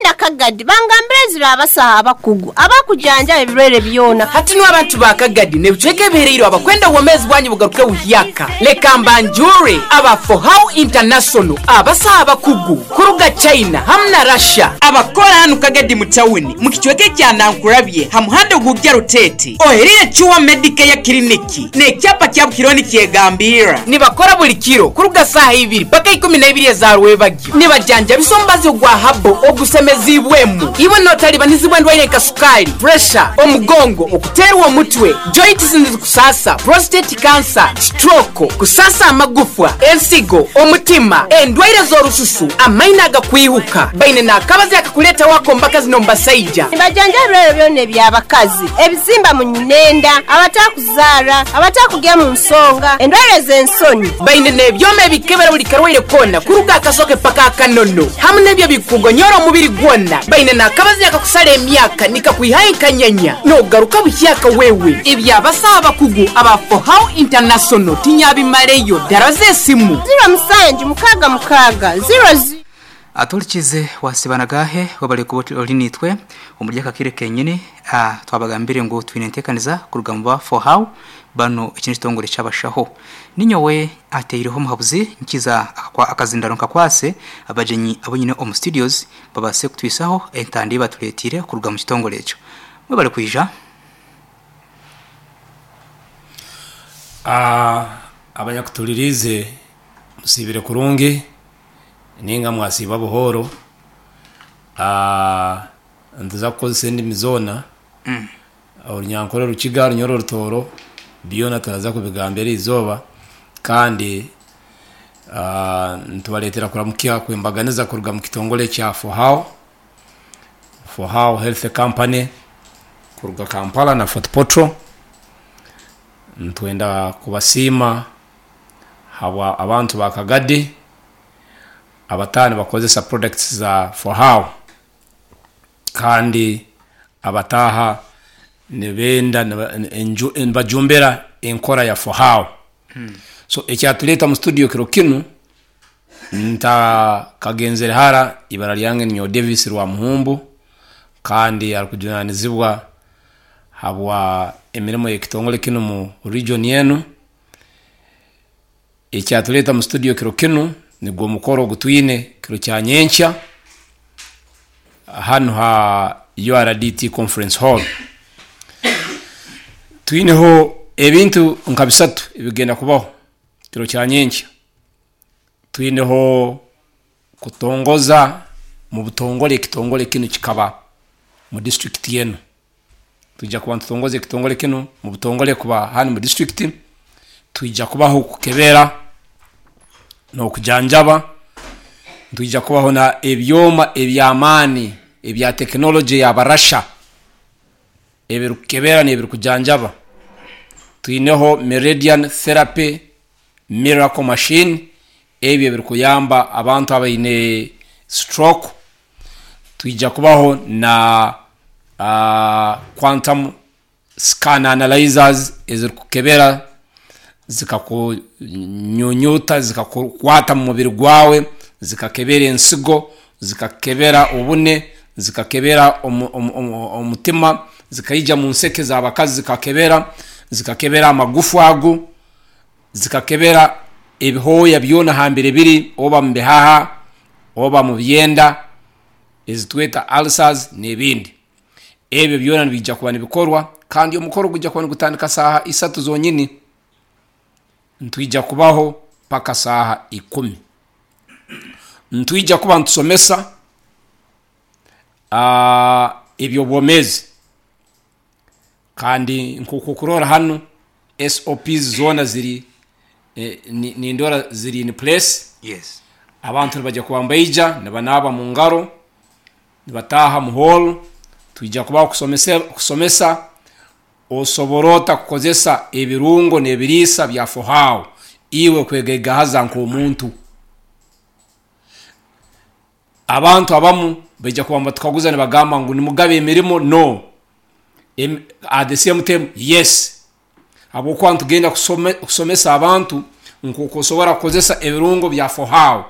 Nagenda Kagadi bangambira ezira abasaho abakugu abakujanjaba ebirwaire byona. Hati nu abantu ba Kagadi n'ebicweka ebihereirwe abakwenda obwomeezi bwanyu bugaruke buhyaka, leka mbanjure aba Fohow International, abasaho abakugu kuruga China hamu na Russia, abakora hanu Kagadi mu tawuni mu kicweka ekya Nankurabye ha muhanda ogugya Rutete, oherire Chua Medicare Clinic n'ekyapa kyabo kiriho nikyegambirra. Nibakora buli kiro kuruga saaha ibiri paka ikumi na ibiri eza rwebagyo. Nibajanjabisa omubazi ogwa habo ogusemeziibwemu. Iwe notalibanizibwa endwaire nka sukaali, puresha, omugongo, okuteerwa omutwe, joints nizikusaasa, prostate cancer, stroke, kusaasa amagufwa, ensigo, omutima, endwaire z'orususu, amaino agakwihuka. Baine n'akabazi akakuleetaho ak'omu bakazi n'omu basaija. Nibajanjaba ebirwaire byona eby'abakazi, ebizimba mu nyinenda, abatakuzaara, abatakugya mu nsonga, endwaire z'ensoni. Baine n'ebyoma ebikebera buli karwaire koona kuruga akasoke paka akanono hamu n'ebyo ebikugonyora omubiri gwona. Baine n'akabazi akakusara emyaka nikakwihayo enkanyanya n'ogaruka buhyaka wewe. Eby'abasaho abakugu aba Fohow International tinyabimaleyo. Daraza esimu. Ziro musanju mukaaga mukaaga ziro ziro. Atuhurikiize wasiiba nagaahe webare kuba ori naitwe omuri aka kaire kenyini. Twabagambire ngu twine enteekaniza kuruga omu ba For How banu eki n'ekitongore ky'abashaho. Ninyowe ateireho omuhabuzi nkiza akazindaro nkakwase abagyenyi abu nyine omu studios babaase kutwisaho entanda ei batureeteire kuruga omu kitongore ekyo. Mwebare kwija. Abanyakutuliriize musiibire kurungi ninga mwasiiba buhooro. Nituza kukozesa endimi zoona, Orunyankore, Orukiga, Orunyoro, Orutooro, byona turaza kubigamba eriizooba kandi nitubareetera kuramukya kwembaganiza kuruga omu kitongore ekya Fohow, Fohow Health Company kuruga Kampala na Fort Portal. Nitwenda kubasiima habwa abantu ba Kagadi abataaha nibakozesa products za Fohow kandi abataaha nibenda nibajumbira enkora ya Fohow. So ekyatureeta mu studio kiro kinu ntakagenzere hara, ibara ryange ninyowe Davis Rwamuhumbu kandi arukujunanizibwa habwa emirimo y'ekitongole kinu mu region enu. Ekyatureeta mu studio kiro kinu nigwo omukoro ogutwine kiro kya nyenkya hanu ha URDT Conference Hall. Twineho ebintu nka bisatu ebigenda kubaho kiro kya nyenkya. Twineho kutongoza mu butongole ekitongole kinu kikaba mu disiturikiti enu. Twija kuba nitutongoza ekitongole kinu mu butongole kuba hanu mu disiturikiti. Twija kubaho kukebera n'okujanjaba. Nitwija kubaho na ebyoma eby'amaani ebya tekinologye y'Abarasha ebirukukebera n'ebirukujanjaba. Twineho Meridian Therapy Miracle Machine ebi ebirukuyamba abantu abaine stroke. Twija kubaho na quantum scan analyzers ezirukukebera zikakunyunyuta, zikakukwata mu mubiri gwawe, zikakebera ensigo, zikakebera obune, zikakebera omutima, zikaija mu nseke z'abakazi zikakebera, zikakebera amagufa ago, zikakebera ebihooya byona hambere biri oba mu bihaha oba mu byenda ezitweta ulcers n'ebindi. Ebyo byona nibiija kuba nibikorwa kandi omukoro gwijja kuba nigutandika saaha isatu zonyini, nitwija kubaho paka saaha ikumi. Nitwija kuba nitusomesa eby'obwomeezi kandi nk'oku okurora hanu SOPs zoona ziri nindora ziri in place. Abantu nibaija kuba nibaija nibanaaba mu ngaro, nibataaha mu hall, twija kubaho kusomesa osobora ota kukozesa ebirungo n'ebiriisa bya Fohow iwe kwegaigahaza nk'omuntu. Abantu abamu baija kuba nibatukaguza nibagamba ngu nimugaba emirimo? No. At the same time yes. Habwokuba nitugenda kusomesa abantu nk'oku osobora kukozesa ebirungo bya Fohow.